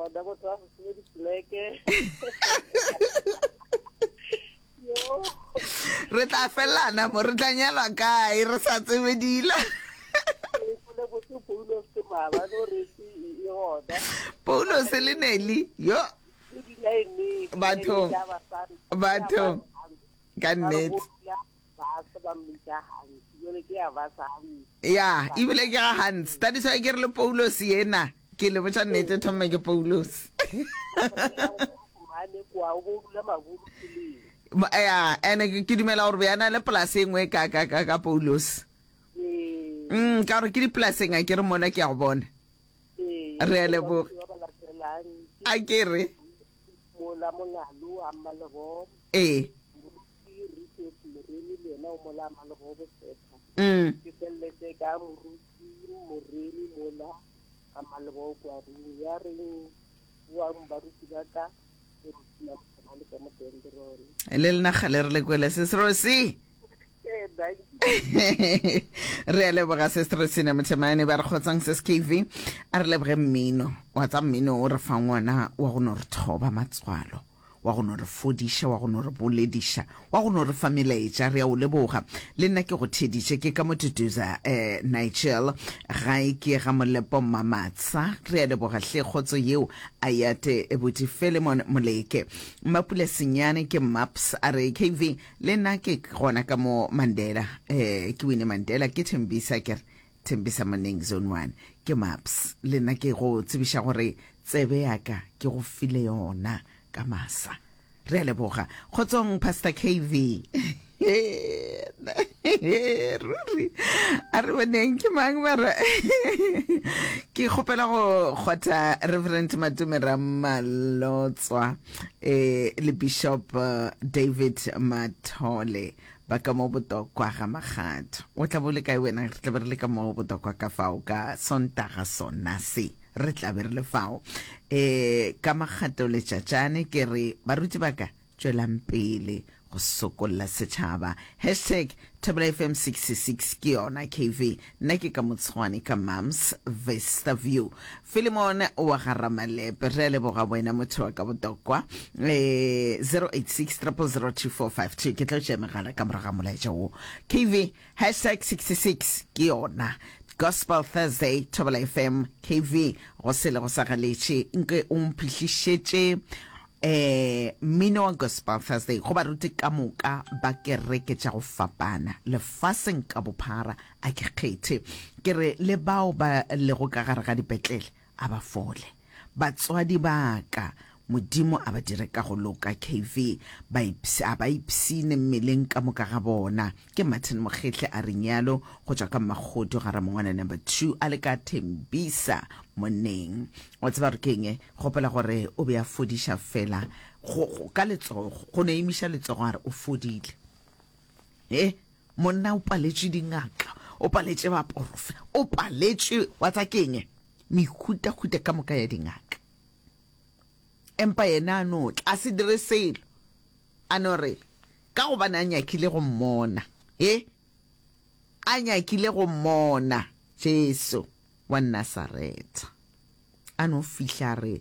gona motho wa go tsebe dipoleke. Yo. Re tla felana mo, re tla nyalwa kae re sa tsebe dilo. Ke kwele botse Paulos maabane o re e e gona. Paulos le Nelly, yo. Le di-line, Bathong. tša basadi. Bathong. Ka nnete. Ba ba mmitša Hans, jwale ke ya ba sa Hans. Ya, ebile ke ga Hans. That is why ke re le Paulos yena, ke le botša nnete thomme ke Paulos. Mane kwa o bo dula maburu tseleng. Ya, ene ke dumela gore be a na le polase e nngwe ka ka ka ka Paulos. Ee. Mm, ka gore ke dipolaseng a ke re mona ke ya go bona. Ee. Re a leboga. Ba ba latelang. A ke re. Mola Mongalo a Mmalebogo. Ee. Moruti Richard Moremi le yena o mola Mmalebogo Bosetha. Mm. Ke feleletše ka Moruti Moremi mola a Mmalebogo kwa Rung. Ya reng boang baruti ba ka ke Rosina Mothamane ka mo Dendron. Le lena kgale re le kwele sis Rosie. Ee, thank you. Re a leboga sis Rosina Mothemane ba re kgotsang sis KV a re leboge mmino wa tsa mmino o re fang wona wa go no re thoba matswalo wa go no re fodiša, wa go no re bolediša, wa go no re fa melaetša. Re a o leboga. Le nna ke go theeditše. Ke ka mo Duduza, eh, Nigel. Gae ke ga Molepo Mmamatsa. Re a leboga hle kgotso yeo a yate buti Philemon Moleke. Mmapula Senyane ke Maps a re KV le nna ke gona ka mo Mandela. Eh, ke Winnie Mandela ke Thembisa ke re Thembisa Moneng Zone 1. Ke Maps le nna ke go tsebiša gore tsebe ya ka ke go file yona ka masa. Re a leboga. Kgotsong Pastor KV. Ruri a re boneng ke mang mara ke kgopela go kgotha Reverend Matome Ramalotswa eh le Bishop eh, David Mathole Ba ka mo botokwa ga Makgatho. O tla bo le kae wena? Re tla be re le ka mo botokwa ka fao ka Sontaga sona se. Re tla be re le fao. E, ka Makgatho letšatšane ke re, baruti ba ka, tšwelang pele go sokolla setšhaba. Hashtag Thobela FM 66 ke yona KV. Nna ke ka Motshwane ka Mams Vista View. Philemon wa ga Ramalepe, re a leboga wena motho wa ka botokwa. Eh, 086 0002452 ke tlo tšea megala ka morago ga molaetša wo. KV hashtag 66 ke yona. Gospel Thursday Thobela FM KV go sele go sa galetše nke o mphihlišetše eh mmino wa Gospel Thursday go baruti ka moka ba kereke tša go fapana lefaseng ka bophara a ke kgethe ke re le bao ba lego ka gare ga dipetlele a ba fole batswadi ba ka Modimo a ba dire ka go loka KV ba a ba ipshine mmeleng ka moka ga bona ke Martin Mokgehle a re nyalo go tšwa ka Mmakgodu ga Ramongwana number 2 a le ka Thembisa monneng wa tseba gore ke eng Gopola gore o be a fodiša feela go, go, ka letsogo, go no emiša letsogo a re o fodile. He, monna o paletšwe dingaka, o paletše baporofe, o paletšwe, wa tsa keng, mehutahuta ka moka ya dingaka. Empa yena a no tla, a se dire selo, a no re, ka gobane a nyakile go mmona. He, a nyakile go mmona, Jesu wa Nasaretha. A no fihla a re,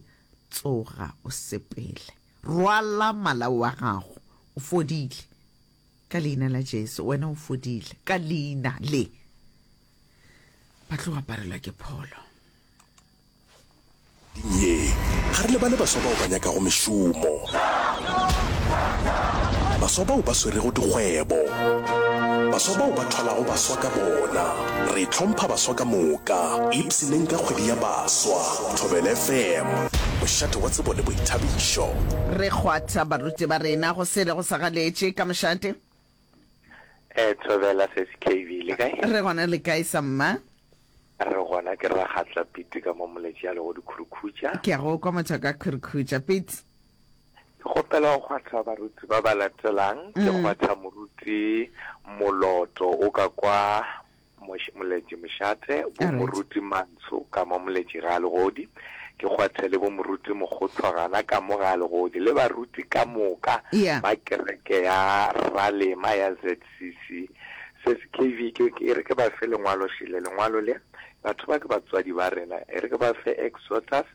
Tsoga o sepele. Rwala malao a gago. O fodile. Ka Leina la Jesu, wena o fodile. Ka Leina le. Ba tlo aparelwa ke pholo. Ye, ga re lebale baswa bao ba nyakago mešomo, baswa bao ba swerego dikgwebo, baswa bao ba thwalago baswa ka bona. Re hlompha baswa ka moka. Ipshineng ka kgwedi ya baswa. Thobela FM, mošate wa tsebo le boithabišo. Re kgwatha baruti ba rena go sele go sa galetše ka mošate. Eh, Thobela Sesi KB, le kae? Re gona le kae sa mma? Re gona ke Ragatla Pete ka mo Moletši a lego Dikhurukhutša. Ke a go kwa motho ka Khurukhutša Pete. Ke kgopela go kgwatha baruti ba ba latelang. Ke mm. kgwatha moruti Moloto o ka kwa Moletši Mošate, bo moruti Mantsho ka mo Moletši ga Legodi. Ke kgwathe le bo moruti Mokgotho gana ka mo ga Legodi le baruti ka moka ba kereke ya Ralema ya ZCC. Se se KV ke e re ke ba fe lengwalo šele lengwalo le batho ba ke batswadi ba rena e re ke ba fe Exodus.